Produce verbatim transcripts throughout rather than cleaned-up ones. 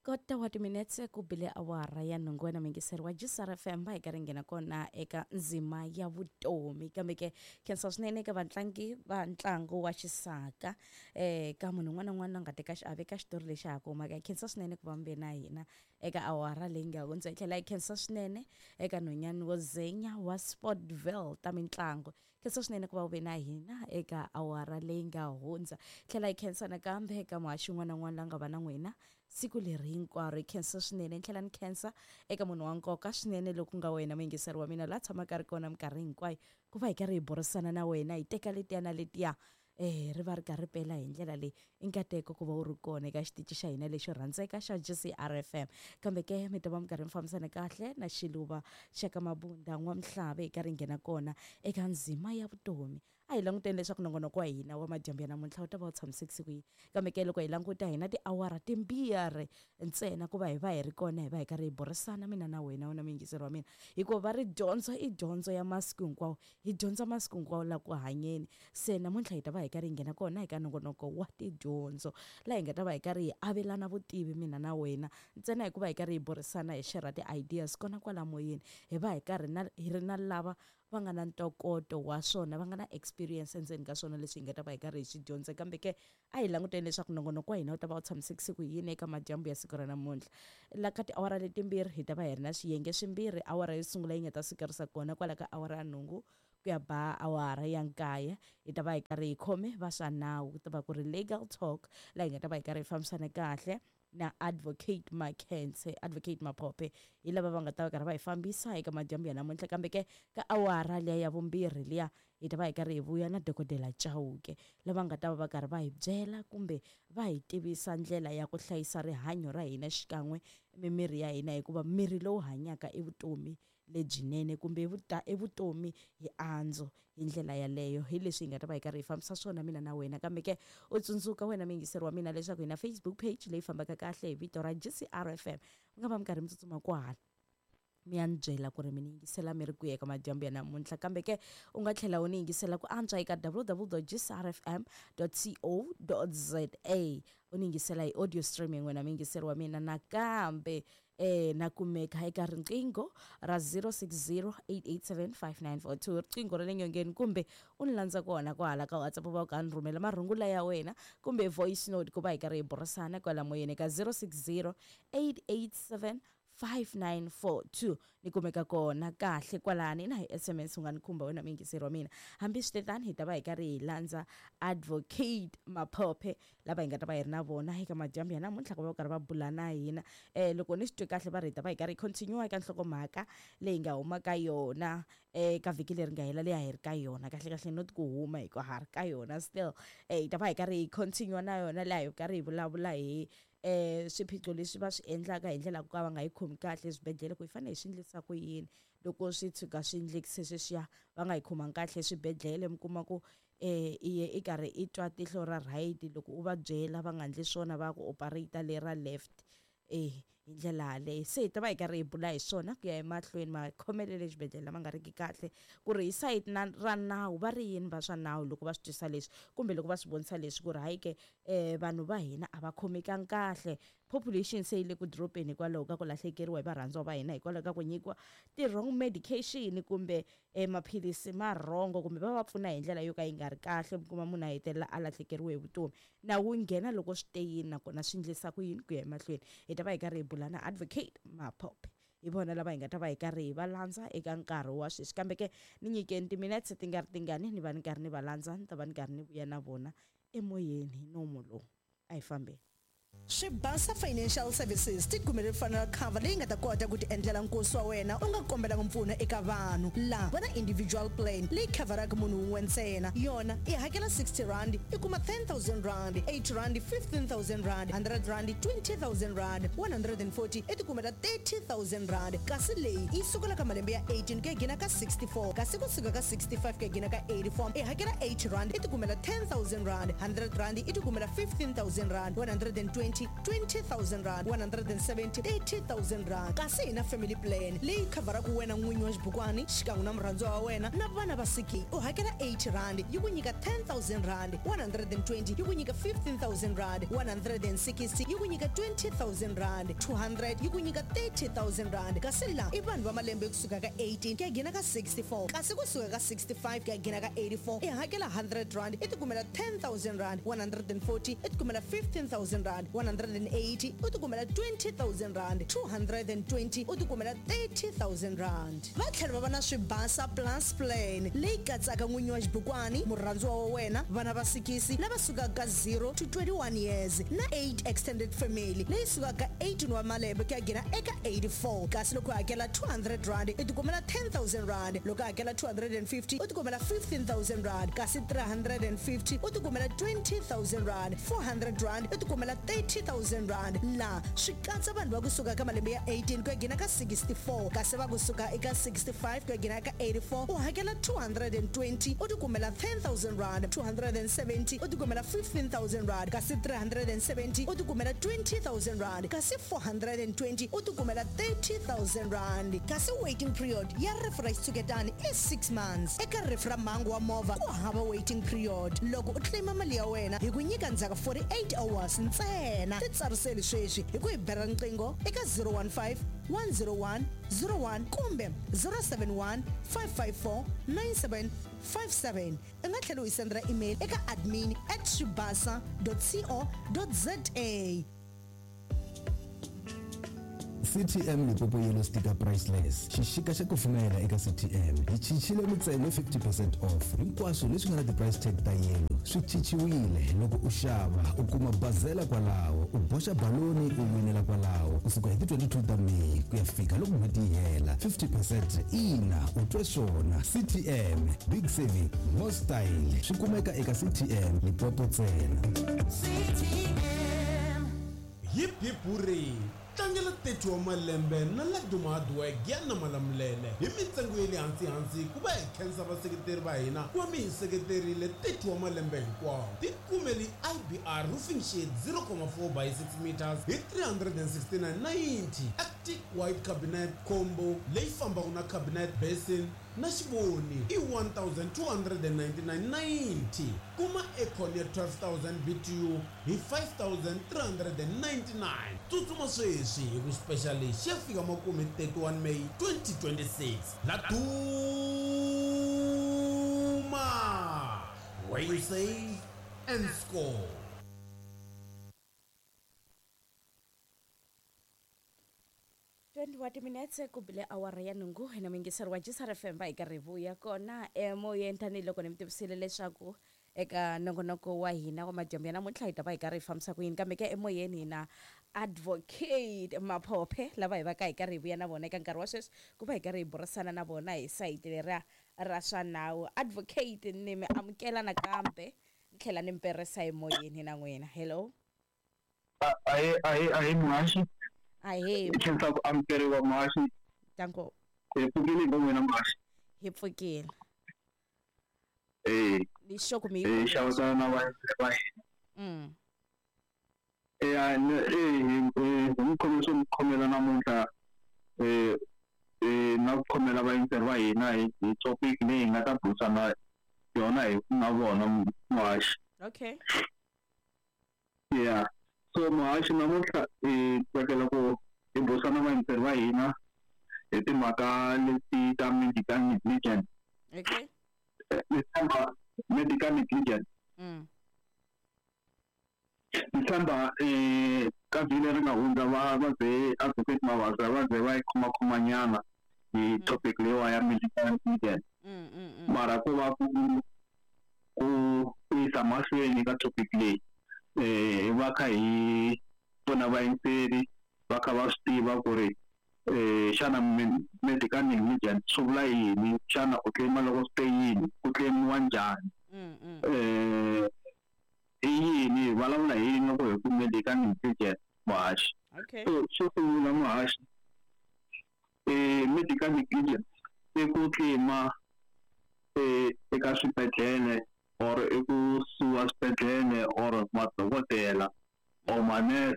Kota wa timinetse ku bile awara ya nhungu wena muyingiseri wa G C R F M va hi karhi nghena kona eka ndzima ya vutomi kambe ke khensa swinene eka vatlangi va ntlangu wa xisaka eh ka munhu un'wana na un'wana la nga teka xiave ka xitori lexi ha ku humaka. Khensa swinene ku va mi ve na hina eka awara leyi nga hundza, hi tlhela hi khensa swinene eka nhwanyana wo zenya wa Sportville ta mitlangu. Khensa swinene ku va u ve na hina eka awara leyi nga hundza, tlhela hi khensa nakambe eka muhaxi un'wana na un'wana la nga va na n'wina siku leri hinkwaro. Hi khensa swinene, ni tlhela ni khensa eka munhu wa nkoka swinene loku nga wena muyingiseri wa mina la tshamaka a ri kona minkarhi hinkwayo ku va hi karhi hi burisana na wena, hi teka letiya na letiya eh ri va ri karhi ri pela hi ndlela leyi. I nkateko ku va u ri kona eka xitichi xa hina lexo rhandzeka xa G C R F M. Kambe ke mi ta va mi karhi mi fambisana kahle na xiluva xa ka Mabunda N'wamhlave hi karhi nghena kona eka ndzima ya vutomi. A hi languteni leswaku nongonoko wa hina wa madyambu ya namuntlha wu ta va wu tshamisekise ku yini. Kambe ke loko hi languta hi na tiawara timbirhi ntsena ku va hi va hi ri kona, hi va hi karhi hi burisana mina na wena, wena muyingiseri wa mina, hikuva va ri dyondzo i dyondzo ya masiku hinkwawo, hi dyondza masiku hinkwawo la ku hanyeni. Se namuntlha hi ta va hi karhi hi nghena kona eka nongonoko wa tidyondzo laha hi nga ta va hi karhi hi avelana vutivi mina na wena ntsena hikuva hi karhi hi burisana hi share ti-ideas kona kwala moyeni, hi va hi karhi na hi ri na lava va nga na ntokoto wa swona, va nga na experience endzeni ka swona leswi hi nga ta va hi karhi hi swi dyondza. Kambe ke a hi languteni leswaku nongonoko wa hina wu ta va wu tshamisekise ku yini eka madyambu ya siku ra namuntlha. La ka tiawara letimbirhi hi ta va hi ri na swiyenge swimbirhi. Awara yo sungula yi nga ta sukerisa kona kwala ka awara ya nhungu ku ya ba awara ya nkaye, hi ta va hi karhi hi khome va swa nawu, ku ta va ku ri legal talk laha hi nga ta va hi karhi hi fambisana kahle na Advocate Makhense, Advocate Maphophe, hi lava va nga ta va karhi va hi fambisa eka madyambu ya namuntlha. Kambe ke ka awara liya ya vumbirhi liya hi ta va hi karhi hi vuya na Dokodela Chauke lava nga ta va va karhi va hi byela kumbe va hi tivisa ndlela ya ku hlayisa rihanyo ra hina xikan'we mimiri ya hina, hikuva miri lowu hanyaka i vutomi lebyinene kumbe i vutomi hi andzo hi ndlela yaleyo. Hi leswi hi nga ta va hi karhi hi fambisa swona mina na wena. Kambe ke u tsundzuka wena muyingiseri wa mina leswaku hi na Facebook page leyi fambaka kahle hi vito ra G C R F M. Mi nga va mi karhi mi tsutsuma kwahala mi ya ni byela ku ri mi ni yingisela mi ri kwihi eka madyambu ya namuntlha. Kambe ke u nga tlhela u ni yingisela ku antswa eka w w w dot g c r f m dot co dot z a, u ni yingisela hi audio streaming wena muyingiseri wa mina. Nakambe eh na kumeka eka riqingho ra zero six zero eight eight seven five nine four two, riqingho ra le nyongeni, kumbe u ni landza kona kwahala ka WhatsApp va u ka ni rhumela marungula ya wena kumbe voice note ku va hi karhi hi burisana kwala moyeni ka zero six zero eight eight seven five nine four two. Ni kumeka kona kahle kwalani na hi S M S u nga ni khumba wena muyingiseri wa mina. Hambi swi tetani hi ta va hi karhi hi landza Advocate Maphophe lava hi nga ta va hi ri na vona eka madyambu ya namuntlha ku va va karhi va bula na hina. Eh loko ni swi twe kahle va ri hi ta va hi karhi hi continue eka nhlokomhaka leyi nga huma ka yona eka vhiki leri nga hela leyi a hi ri ka yona. Kahle kahle not ku huma hikuva ha ri ka yona still. Eh hi ta va hi karhi hi continue na yona laha hi karhi hi vulavula hi eh swiphiqo leswi va swi endlaka hi ndlela ku ka va nga yi khomi kahle eswibedhlele, ku hi fanele hi swi endlisa ku yini loko swi tshuka swi endlekise sweswiya va nga yi khomangi kahle eswibedhlele. Mi kuma ku eh i ye i karhi i twa tihlo ra right, loko u va byela va nga endli swona va ku operate le ra left eh hi ndlela yaleyo. Se hi ta va hi karhi hi bula hi swona ku ya emahlweni, makhomelelo exibedhlele lama nga riki kahle, ku ri hi sayiti na ra nawu va ri yini va swa nawu loko va swi twisa leswi kumbe loko va swi vonisa leswi ku ri hayi ke eh vanhu va hina a va khomekangi kahle, population se yi le ku dropeni hikwalaho ka ku lahlekeriwa hi varhandziwa va hina hikwalaho ka ku nyikiwa ti-wrong medication kumbe eh maphilisi ma wrong, kumbe va va pfuna hi ndlela yo ka yi nga ri kahle, mi kuma munhu a hetelela a lahlekeriwe hi vutomi. Nawu wu nghena loko swi te yini nakona swi endlisa ku yini ku ya emahlweni. Hi ta va hi karhi hi bula na Advocate Maphophe, hi vona lava hi nga ta va hi karhi hi va landza eka nkarhi wa sweswi. Kambe ke ni nyikeni timinetse ti nga ri tingani ni va ni karhi ni va landza, ni ta va ni karhi ni vuya na vona emoyeni hi nomu lowu. A hi fambeni. Swibasa Financial Services ti kumele funeral cover leyi nga ta kota ku ti endlela nkosi wa wena u nga kombelanga mpfuno eka vanhu. La va na individual plan leyi coveraka munhu wun'we ntsena, yona i hakela sixty rand i kuma ten thousand rand, eighty rand fifteen thousand rand, hundred rand twenty thousand rand, one hundred and forty i ti kumela thirty thousand rand. Kasi leyi yi sukela ka malembe ya eighteen ku ya gina ka sixty-four, kasi kusuka ka sixty-five ku ya gina ka eighty-four i hakela eighty rand i ti kumela ten thousand rand, hundred rand i ti kumela fifteen thousand rand, one hundred and twenty seventy twenty thousand rand, one hundred and seventy thirty thousand rand. Kasi hi na family plan leyi khavharaka wena n'winyi wa xibukwani xikan'we na murhandziwa wa wena na vana va siki, u hakela eighty rand yi ku nyika ten thousand rand, one hundred and twenty yi ku nyika fifteen thousand rand, one hundred and sixty yi ku nyika twenty thousand rand, two hundred yi ku nyika thirty thousand rand. Kasi la i vanhu va malembe kusuka ka eighteen ku ya nghena ka sixty-four, kasi kusuka ka sixty-five ku ya nghena ka eighty-four i hakela hundred rand i tikumela ten thousand rand, one hundred and forty i tikumela fifteen thousand rand, one hundred and eighty u tikumela twenty thousand rand, two hundred and twenty u tikumela thirty thousand rand. Va tlhela va va na Swibasa Plus plan leyi katsaka n'winyi wa xibukwani, murhandziwa wa wena, vana va sikisi lava sukaka ka zero to twenty-one years na eight extended family leyi sukaka ka eighteen wa malembe ku ya nghena eka eighty-four. Kasi loko u hakela two hundred rand i tikumela ten thousand rand, loko u hakela two hundred and fifty u tikumela fifteen thousand rand, kasi three hundred and fifty u tikumela twenty thousand rand, four hundred rand i tikumela thirty thousand rand. La swi katsa vanhu va kusuka ka malembe ya eighteen ku ya nghena ka sixty-four, kasi va kusuka eka sixty-five ku ya nghena ka eighty-four u hakela two hundred and twenty u tikumela ten thousand rand, two hundred and seventy u tikumela fifteen thousand rand, kasi three hundred and seventy u tikumela twenty thousand rand, kasi four hundred and twenty u tikumela thirty thousand rand. Kasi waiting period ya rifu ra xitshuketani i six months. Eka rifu ra mhangu wa movha ku hava waiting period. Loko u claima mali ya wena hi ku nyika ndzhaku forty-eight hours ntsena. Titsariseli sweswi hi ku hi bela riqingho eka zero one five one zero one zero one kumbe zero seven one five five four nine seven five seven. U nga tlhela u hi sendela email eka admin at swibasa dot co dot za. C T M Limpopo Yellow Sticker Priceless. Xixika xa kufumela eka C T M. Hi cincile mintsengo fifty percent off. Hinkwaswo leswi nga na ti-price tag ta yellow swi cinciwile. Loko u xava u kuma bazela kwalaho, u boxa baloni u winela kwalaho. Kusuka hi ti twenty-two ta May ku ya fika loko n'hweti yi hela. fifty percent ina u twe swona. C T M Big Saving More Style swi kumeka eka C T M Limpopo ntsena. C T M Hip hip hooray! Tlangela thirty wa malembe na Laduma Hardwork ya na Malamulele hi mintsengo ya le hansi-hansi ku va hi khensa vaseketeri va hina ku va mi hi seketerile thirty wa malembe hinkwawo. Tikumeli I B R roofing sheet zero comma four by six meters hi three hundred and sixty-nine ninety. Arctic white cabinet combo leyi fambaka na cabinet basin na xivoni i one thousand two hundred and ninety-nine ninety. Kuma aircon ya twelve thousand B T U hi five thousand three hundred and ninety-nine. Tsutsuma sweswi hi ku special lexi ya fika makume thirty-one May twenty twenty-six. Laduma, where you save and score. twenty-one minutes ku bile awara ya nhungu hina muyingiseri wa G S R F M va hi karhi hi vuya kona emoyeni tanihiloko ni mi tivisile leswaku eka nongonoko wa hina wa madyambu ya namuntlha hi ta va hi karhi hi fambisa ku yini, kambe ke emoyeni hina Advocate Maphophe lava hi va ka hi karhi hi vuya na vona eka nkarhi wa sweswi ku va hi karhi hi burisana na vona hi sayiti leriya ra swa nawu. Advocate, ni mi amukela nakambe ni tlhela ni mi perisa emoyeni na n'wina. Hello. Ahe ahe ahe muhaxi. Ahe. Hi khensa ku amukeriwa muhaxi. Danko. Hi pfukile hi n'wina muhaxi. Hi pfukile. Eh. Ni sure ku mi Eh xavisana na va va hina. Mm. Eh eh eh hi khome swo mi khomela namuntlha eh eh na ku khomela vayingiseri va hina hi hi topic leyi hi nga ta burisana yona hi na vona muhaxi. Okay. Yeah. So muhaxi namuntlha hi tsakela ku hi burisana vayingiseri va hina hi timhaka leti ta medical negligence. Okay. Ni tshemba medical negligence. Mm. Ni tshemba eh ka vhiki leri nga hundza va va ze Advocate Mabasa va ze va yi khomakhomanyana hi topic leyiwa ya medical negligence. Mm, mm, mm. Mara ku va ku ku yisa mahlweni ka topic leyi eh va kha hi pfuna vayingiseri va kha va swi tiva ku ri eh xana medical negligence swi vula yini, xana u claima loko swi te yini, ku claimiwa njhani, eh i yini, hi vulavula hi yini loko hi ku medical negligence muhaxi. Okay. So xo sungula muhaxi, eh medical negligence i ku claima eh eka swibedhlele or i ku suwa swibedhlele or madokodela or manese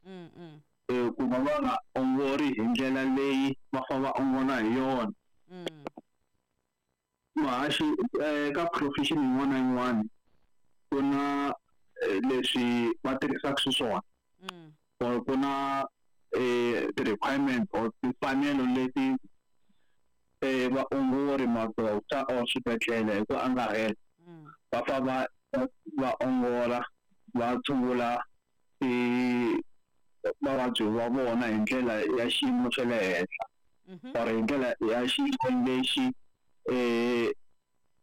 Mm, mm, eh, ku va va nga ongori hi ndlela leyi va fanele va ongola hi yona. mm, Muhaxi, eh, ka profession yin'wana na yin'wana ku na eh, leswi va tirhisaka xiswona mm, or ku na eh, ti-requirement or timfanelo leti eh, vaongori, ma-doctor or swibedhlele hi ku angarhela mm, va fanele va va ongola, va tshungula ti vavabyi va vona hi ndlela ya xiyimo xa le henhla mhm, or hi ndlela ya xiyimo lexi eh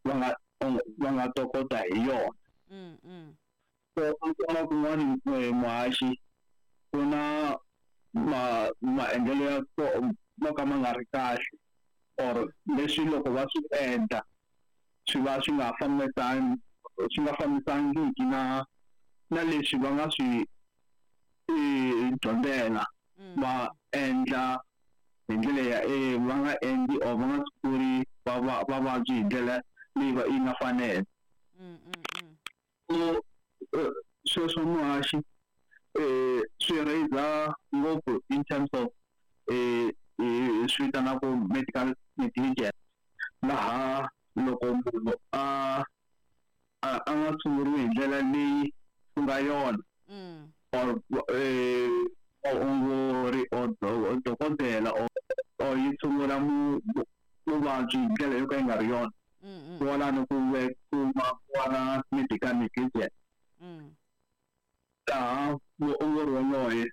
va nga va nga tokota hi yona. mm, mm, So u kuma kun'wani eh, muhaxi, ku na ma maendlelo ya ko mo ka ma nga ri kahle or leswi loko va swi endla swi va swi nga fambisani swi nga fambisangiki na na leswi va nga swi eh, dyondzela. mm, Va endla hi ndlela ya eh, va nga endli or va nga tshunguri va va vavabyi hi ndlela leyi va yi nga fanela. mm, mm, mm. So eh, sweswo muhaxi, eh swi raise ngopfu in terms of eh eh, swi vitanaku medical negligence, laha loko munhu a a a nga tshunguriwi hi ndlela leyi ku nga yona Mm, or eh vaongori or do- dokodela or or yi tshungula mu- mu- muvabyi hi ndlela yo ka yi nga ri yona, mm, mm, kwalano ku ve ku va ku va na medical negligence, mm, laha muongori waloye